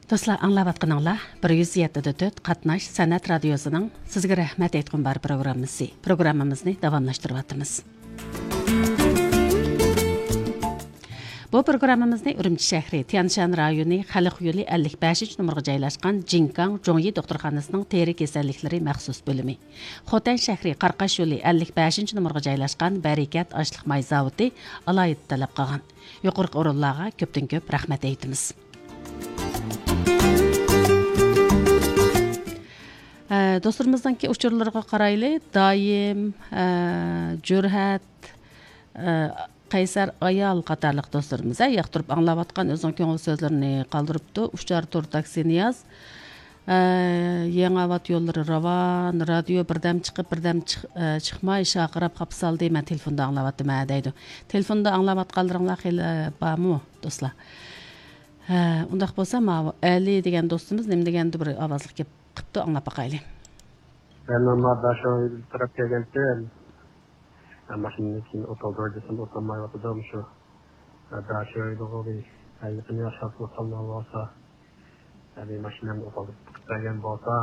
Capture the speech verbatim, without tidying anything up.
دوستلار، ئاڭلاۋاتقىنىڭلار بىر يۈز يەتتە دە تۆت قاتناش سەنئەت رادىيوسىنىڭ سىزگە رەھمەت ئېيتقۇم بار پروگراممىسى. پروگراممىمىزنى داۋاملاشتۇرۇۋاتىمىز. بۇ پروگراممىمىزنى ئۈرۈمچى شەھىرى، تيەنشان رايونى، خەلق يولى ئەللىك بەشىنچى نومۇرغا جايلاشقان جىنكاڭ جوڭيى دوختۇرخانىسىنىڭ تېرە كېسەللىكلىرى مەخسۇس بۆلۈمى، خوتەن شەھىرى، قاراقاش يولى ئەللىك بەشىنچى نومۇرغا جايلاشقان بەرىكەت ئاشلىق ماي زاۋۇتى ئالاھىدە تەلەپ قىلغان. يۇقىرىقى ئورۇنلارغا كۆپتىن كۆپ رەھمەت ئېيتىمىز. ئە، دوستلىرىمىزنىڭكى ئۇچۇرلىرىغا قارايلى. دايىم، ئە، جۈرھەت، ئە، قەيسەر ئايال قاتارلىق دوستلىرىمىز، ھە، ياقتۇرۇپ ئاڭلاۋاتقان، ئۆزىنىڭ كۆڭۈل سۆزلىرىنى قالدۇرۇپتۇ. ئۇچار تور تاكسى نىياز، ئە، يېڭى ئاۋات يوللىرى راۋان، رادىيو بىردەم چىقىپ، بىردەم چىق-، ئە، چىقماي شارقىراپ خاپا سالدى، مەن تېلېفوندا ئاڭلاۋاتىمەن دەيدۇ. تېلېفوندا ئاڭلاۋاتقانلىرىڭلار خېلى بارمۇ، دوستلار؟ ھە، ئۇنداق بولسا، ماۋۇ ئەلى دېگەن دوستىمىز نېمە دېگەندۇ، بىر ئاۋازلىق گەپ قىپتۇ، ئاڭلاپ باقايلى. مەن مانا داشو تەرەپ كەلگەنتىم. ماشىنىنى كېيىن ئوتالدۇر دېسەم، ئوتالمايۋاتىدۇ مۇشۇ. داشو دېگۇ بىر يېقىن ياشاپ ئوتالماي بولسا، ماشىنامنى ئوتالدۇرۇپ بەرگەن بولسا،